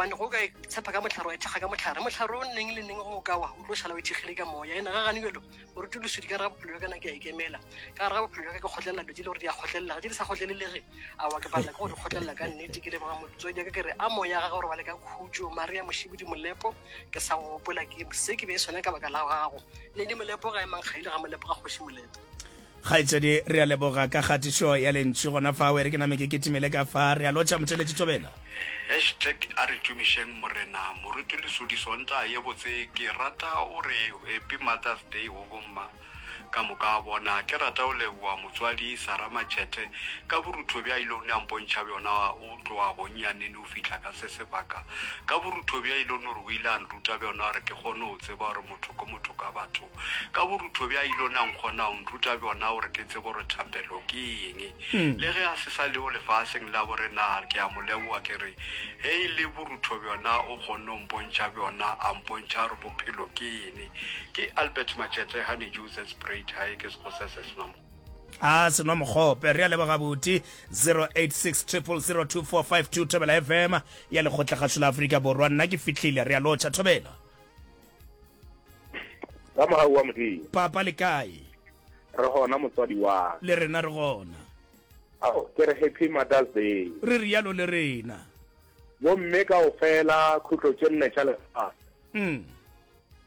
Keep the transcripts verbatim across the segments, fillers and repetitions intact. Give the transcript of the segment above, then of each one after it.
Gobane go ka tshepa ka mohlare wa ithekga ka mohlare, mohlare o neng le neng go o ka wa, o tlo šala o ithekgile ka moya. Ene ga gane bjalo, moruti Lesodi, ka gare ga bophelo bja ka na ke a ikemela. Ka gare ga bophelo bja ka ke kgotlelela dilo tše le gore di a kgotlelelega, tše di sa kgotlelelege, aowa ke palela ke go di kgotlelela ka nnete. Ke leboga motswadi wa ka, ke re a moya gagwe o robale ka khutšo. Maria Mošibidi Molepo, ke sa go gopola, ke se ke be sona ka baka la gago. Lady Molepo ga e mankgaile ga Molepo ga kgoši Molepo. Kgaetšedi, re a leboga ka kgatišo ya lentšu gona fao. E re ke name ke kitimele ka fa. Re a lotšha, motheeletši Thobela. Hashtag a re tumišeng Morena. Moruti Lesodi Sontaga ye botse ke rata o re Happy Mother's Day go bomma ka moka a bona. Ke rata go leboga motswadi Sarah Matšhethe ka borutho bja ilone a mpontšha bjona o tloga gonnyanene o fihla ka se sebaka. Ka borutho bja ilone gore o ile a nruta bjona gore ke kgone go tseba gore motho ke motho ka batho. Ka borutho bja ilone a nkgona go nruta bjona gore ke tsebe gore thapelo ke eng. Le ge a se sa leo lefaseng la borena, ke a mo leboga ke re ge e le borutho bjona o kgonne go mpontšha bjona, a mpontšha gore bophelo ke eng. Ke Albert Matšhethe, Honeydew Zesprayed, hae ke Sekgosi se senwa mokgope. A senwa mokgope. Re a leboga buti. Zero eight six triple zero two four five two Thobela F M ya Lekgotlakgašo la Afrika Borwa. Nna ke fihlile. Re a lotšha Thobela. Ka mogau wa Modimo. Papa le kae? Re gona motswadi wa ka. Le rena re gona. Ao, ke re Happy Mother's Day. Re rialo le rena. Bomme kaofela khutlo tše nne tša lefase. Mm.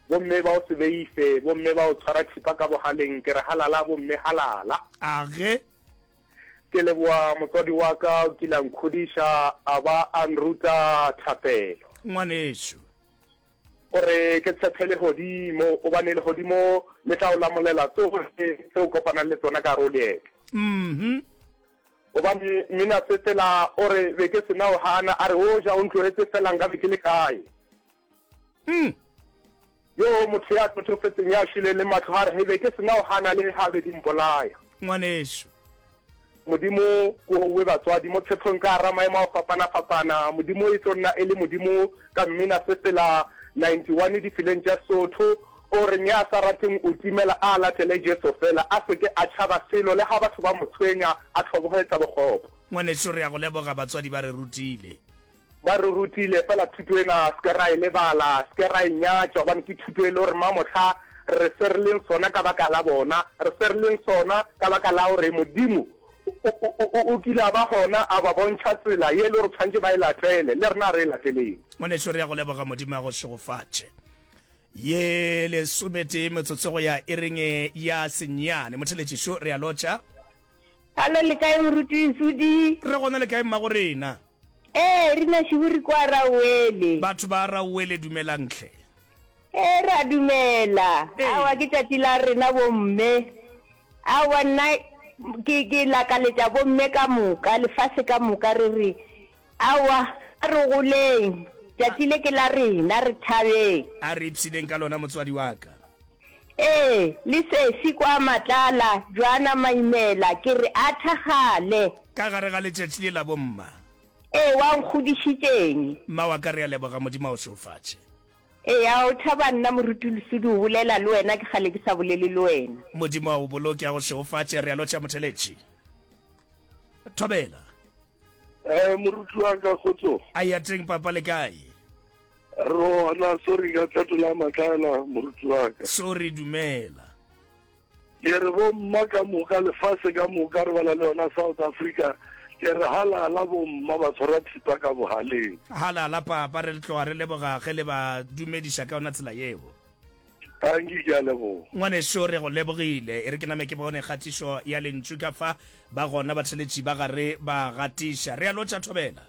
Bomme ba o se beife, bomme ba o tshwara thipa ka bogaleng, ke re halala bomme halala. Age. Ke leboa motswadi wa ka o kile a nkgodiša a ba a nruta thapelo. Ngwanešu. O re ke tshephe legodimo, gobane legodimo le tla o lamolela tsohle tse o kopanang le tsona ka gare o leeto. Mhm. Gobane mmina sefela o re be ke sena o gana, a re o ja o ntlohetse fela nka be ke le kae? Mm. Yo motho ya tlothofetseng ya šweleng le mahlo a re he be ke sena o gana le ga be di mpolaya. Ngwanešu. Modimo ko owe batswadi mo tshephong ka gara maemo a go fapana-fapana. Modimo e tlo nna e le Modimo ka mmina sefela ninety one difileng tša Sotho. O reng ya sa rateng o timela a latele Jesu fela, a se ke a tšhaba selo le ga batho ba mo tshwenya, a hloboge tša bokgopo. Ngwanešu re a go leboga batswadi ba re rutile. Ba re rutile, fela thuto ena se ke ra e lebala, se ke ra e nyatša, gobane ke thuto e le gore mamohla re se re leng sona ka baka la bona, re se re leng sona ka baka la gore Modimo o, o, o, o kile a ba gona a ba bontšha tsela ye e le gore tshwanetše ba e latele, le rena a re e lateleng. Ngwanešu re a go leboga, Modimo a go šegofatše. Ye lesometee metsotso go ya iring ya senyane. Motheletšišo, re a lotšha. Hallo, le kae Moruti Lesodi? Re gona, le kae mmago rena? Ee, rena šiburi kwa Rauwele. Batho ba Rauwele dumelang hle. Ee, ra dumela. Ee. Aowa ke tšatši la rena bomme. Aowa nna ke ke lakaletša bomme ka moka, lefase ka moka re re aowa a re goleng, tšatši le ke la rena, re thabeng. A re ipshineng ka lona motswadi wa ka. Ee, le sesi kwa Matlala, Joana Maimela, ke re a thakgale. Ka gare ga letšatši le la bomma. Ee, wa nkgodišitšeng. Mma wa ka, re a leboga, Modimo a o šegofatše. Eya, o thaba nna Moruti Lesodi o bolela le wena, ke kgale ke sa bolele le wena. Modimo a o boloke, a go šegofatše, re a lotšha motheletši. Thobela. Eh, moruti wa ka, kgotso. A ya teng papa le kae? Re gona, sorry ka fetola matlala moruti wa ka. Sorry, dumela. Ke re bomma ka moka, lefase ka moka, re bala le yona South Africa, ke re halala bomma ba tshwara thipa ka bogaleng. Halala papa, re tloga re leboga ge le ba dumediša ka yona tsela yeo. Tanki, ke a leboga. Ngwaneso, re go lebogile. E re ke name ke bone kgatišo ya lentšu ka fa. Ba gona batheletši ba gare ba gatiša. Re a lotša Thobela.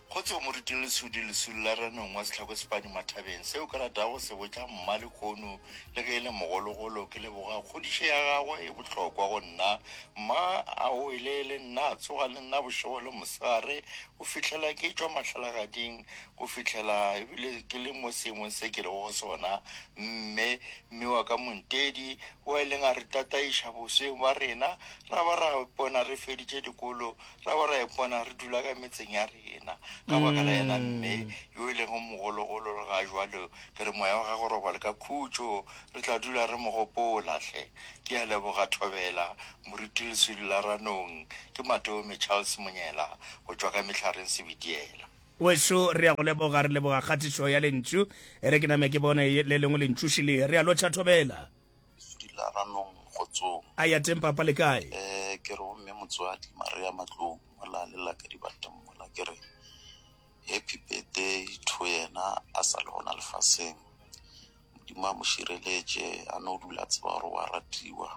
Kgotso Moruti Lesodi Lesolo la Ranong wa Sehlako Sepadi Mathabeng Seo ke ratago go se botša mma lehono le ge e le mogologolo ke leboga kgodišo ya gagwe e bohlokwa go nna Mma a wele le nna a tsoga le nna bošego le mosegare go fihlela ke tšwa mahlalagading go fihlela ebile ke le mo seemong se ke lego go sona Mme mme wa ka Montedi o a ileng a re tataiša bosweng bja rena ra ba ra ipona re feditše dikolo ra ba ra ipona re dula ka metseng ya rena ka baka la yena mme yo e lego mogologolo le ga jwalo ke re moya wa gagwe robale ka khutšo re tla dula re mo gopola hle ke a leboga Thobela Moruti Leswidi la Ranong ke Matome Charles Monyela go tšwa ka Mehlareng Sebitiela. Wešo re ya go leboga, re leboga kgatišo ya lentšu. E re ke name ke bone le lengwe lentšu šele. Re a lotšha Thobela. Lesudi la Ranong Kgotsong. A ya teng papa le kae? Eh ke re go mme motswadi Maria Matlou mola le la ka dibateng mola ke re happy birthday to yena a sa le gona lefaseng. Modimo a mo šireletše a no dula a tseba gore wa ratiwa.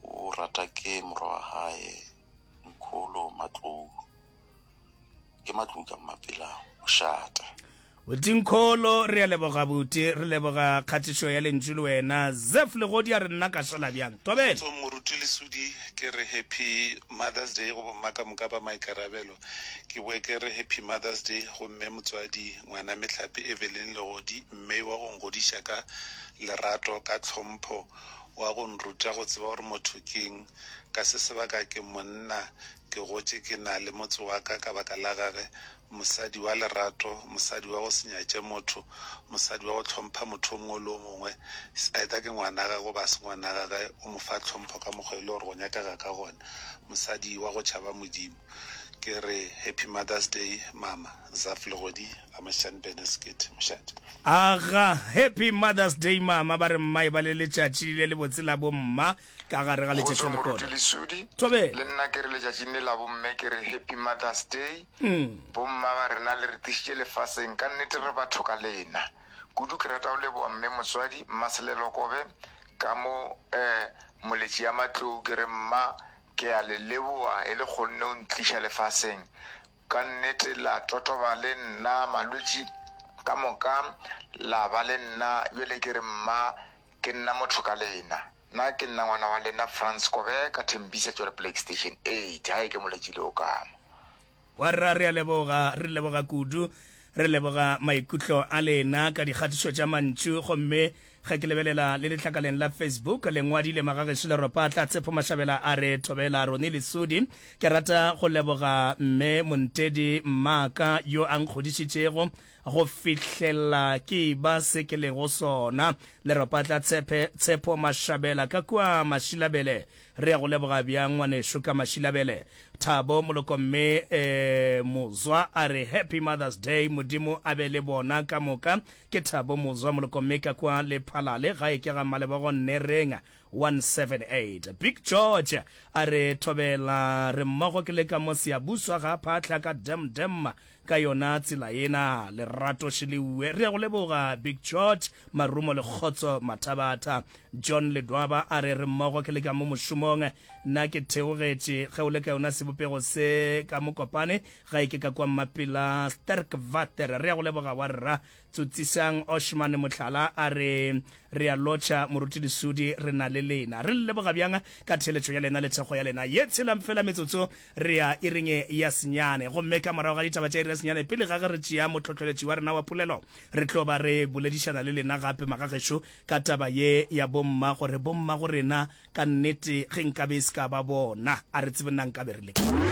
O rata ke morwa wa hae Nkholo Matlou. Ke Matlou ka Mmapela mošate. Buti Nkholo re a leboga buti, re leboga kgatišo ya lentšu le wena. Zeph Legodi a re nna ka šala bjang. Thobela. Kgotsong Moruti Lesudi, ke re Happy Mother's Day go bomma ka moka ba maikarabelo. Ke boe ke re Happy Mother's Day go mme motswadi ngwana mehlape Evelyn Legodi, mme wa go ngodiša ka lerato, ka tlhompho, wa go nruta go tseba gore motho keng. Ka se sebaka ke monna, ke gotše ke na le motse wa ka ka baka la gage, mosadi wa lerato, mosadi wa go se nyatše motho, mosadi wa go hlompha motho o mongwe le o mongwe, either ke ngwana gagwe goba se ngwana gagwe, o mo fa tlhompho ka mokgwa e le gore go nyakega ka gona, mosadi wa go tšhaba Modimo. Ke re Happy Mother's Day mama, Zaf Legodi, Amashan Beneskit, mošate. Aga, Happy Mother's Day mama, ba re mma e ba le letšatši le lebotse la bomma ka gare ga letšatši Kgotso la Moruti lehono. Lesudi, Thobela. le nna ke re letšatšing le la bomme ke re Happy Mother's Day. Bomma ba rena le re tlišitše lefaseng, ka nnete re batho ka lena. Kudu ke rata go leboga mme motswadi Mmaselelo Kobe ka mo eh moletši ya Matlou ke re mma ke a le leboga e le kgonne o ntliša lefaseng. Ka nnete la totoba le nna malwetši ka moka la ba le nna bjale ke re mma ke nna motho ka lena. Nna ke nna ngwana wa lena Frans Kobe ka Thembisa Tswelopele Extension eight. Hae ke moletši le o kama. Wa rra re a leboga, re leboga kudu, re leboga maikutlo a lena ka dikgatišo tša mantšu. Gomme ge ke lebelela le letlakaleng la Facebook, le ngwadile Magagešo Leropatla Tshepo Mashabela a re Thobela Roni Lesudi, ke rata go leboga mme Montedi Mmaka yo a nkgodišitšego go fihlela ke ba se ke lego sona. Leropatla Tshepe Tshepo Mashabela ka kua Mashilabele, re ya go leboga bjang ngwanešo ka Mashilabele. Thabo Moloko mme eh, Mozwa a re Happy Mother's Day, Modimo a be le bona ka moka. Ke Thabo Mozwa Moloko mme ka kua Lephalale, gae ke ga Malebogo Nnereng one seven eight. Big George a re Thobela, re mmogo ke le ka mo Siyabuswa ga Phatlha ka Dem Dem ka yona tsela ena lerato šeleuwe. Re ya go leboga Big George Marumo le Kgotso Mathabatha. John Ledwaba a re re mmogo ke le ka mo mošomong, nna ke theogetše ge o le ka yona sebopego se ka Mokopane, gae ke ka kwa Mmapela Sterkwater. Re ya go leboga wa rra. Tsotsisang Oshman Mohlala a re re a lotšha Moruti Lesudi, re na le lena. Re le leboga bjang ka theletšo ya lena le thekgo ya lena ye tshelang fela metsotso re ya iring ya senyane. Gomme ka morago ga ditaba tša iri ya senyane, pele ga ge re tšea motlhohleletši wa rena wa polelo, re tlo ba re boledišana le lena gape magagešo ka taba ye ya bomma, gore bomma go rena ka nnete ge nkabe e se ka ba bona, a re tsebe nna nkabe re le kae.